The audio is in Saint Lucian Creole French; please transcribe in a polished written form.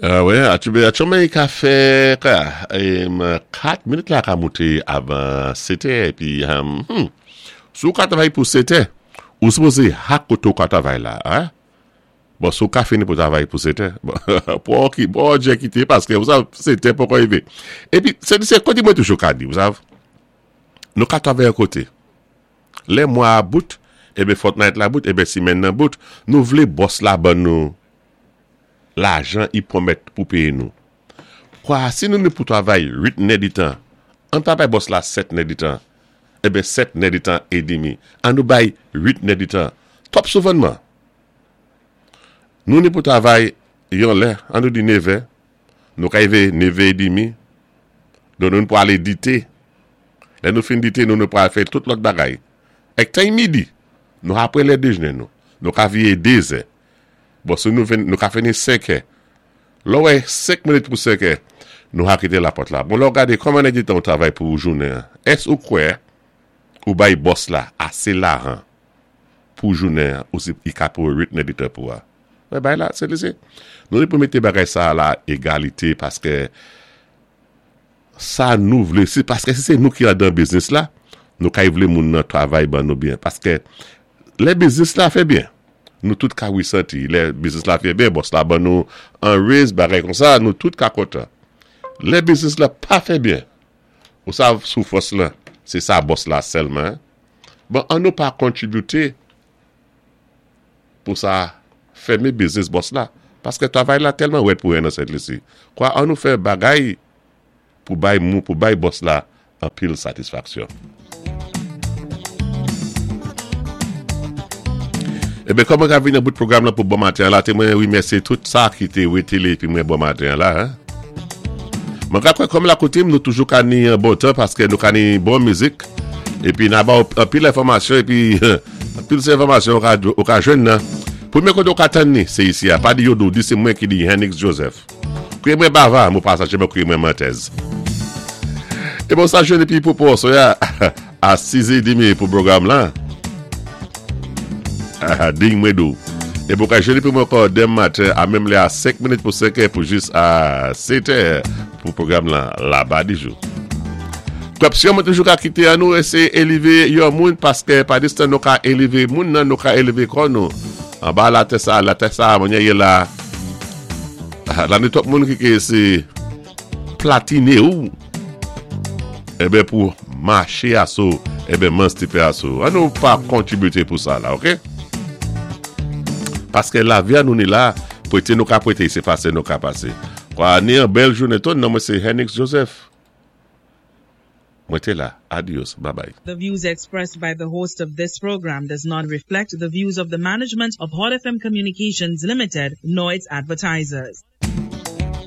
Wè, aktyèlman i ka fè 4 minit la ka moute avan 7 è epi hum si w ka travay pou 7 è ou sipoze hak kote w ka travay la a bon si w ka fini pou travay pou 7 è bon pou w bon djè kite paske ou sav 7 è poko rive epi se se kote mwen toujou ka di ou sav nou ka travay yon kote lè mwa a bout eben fòtnayt la bout eben simèn nan bout nou vle bòs la ban nou lajan i pwomèt pou peye nou. Kwa si nou ni pou travay 8 nèditan, an pa bay bòs la 7 nèditan, enben 7 nèditan edemi, an nou bay 8 nèditan. Twòp souvènman. Nou ni pou travay yon lè, an nou di nevè, nou ka rive nevè edemi, donk nou ni pou ale dite. Lè nou fin dite nou ni pou al fè tout lòt bagay. Èk tan i midi, nou apre lè dejne nou, nou ka vire dezè. Bon si nou vin nou ka fini 5 è. Lè w wè 5 minit pou 5 è, nou ha kite lapòt la. Bon lè w gade kòman nèg detan ou travay pou jounen an, èske ou kwè ou bay bòs la ase lahan pou jounen an ou si li ka pou 8 nèdetan pou a? Wè bagay la se se nou gen pou mete bagay sa a la egalite paske sa nou vle si paske si se nou ki andan biznis la nou kay vle moun nan travay ban nou byen paske lè biznis la fè byen nou tout ka resanti lè biznis la fè byen bòs la ban nou an raise bagay konsa nou tout ka kontan lè biznis la pa fè byen ou sav soufrans lan se sa bòs la sèlman bon an nou pa kontribite pou sa fèmen biznis bòs la paske travay la tèlman rèd pou 1 nan Sent Lisi kwa an nou fè bagay pou bay mou pou bay bòs la anpil satisfaksyon. Eben kòm mwen ka vin nan bout pwogram lan pou bon maten an la te mwen remèsye tout sa ki te wetele epi mwen bon maten an la. Mwen ka kwè kòm la koutim nou toujou ka ni yon bon tan paske nou ka ni bon mizik epi na ba ou anpil enfòmasyon epi anpil se enfòmasyon ou ka jwenn nan. Premye kote ou ka tann ni se isi a pa di yo di w di se mwen ki di Hennix Joseph. Kriye mwen bava, mou pa sache mwen kriye mwen mantèz. E bon sa jwenn epi pou pou soya a 6 e demi pou pwogram lan. Ding mwen dou. E pou ka jwenn epi mwen ankò demen maten a menm lè a 5 minit pou 5 è pou jis a 7 è pou pwogram lan laba di jou. Kòpsyon mwen toujou ka kite an nou eseye eleve yon moun paske pa distan nou ka eleve moun nan nou ka eleve kò nou. Anba latè sa, latè sa mwen ye la. La ni twòp moun ki ke se platine ou Eben pou mache aso Eben mans ti fè aso An nou pa kontribite pou sa la ok Paske la vi a nou ni la Prete nou ka prete se pase nou ka pase Kwa ni an bèl jounen ton non mwen se Henix Joseph Mwen té la adios babay. The views expressed by the host of this program does not reflect the views of the management of Hot FM Communications Limited nor its advertisers.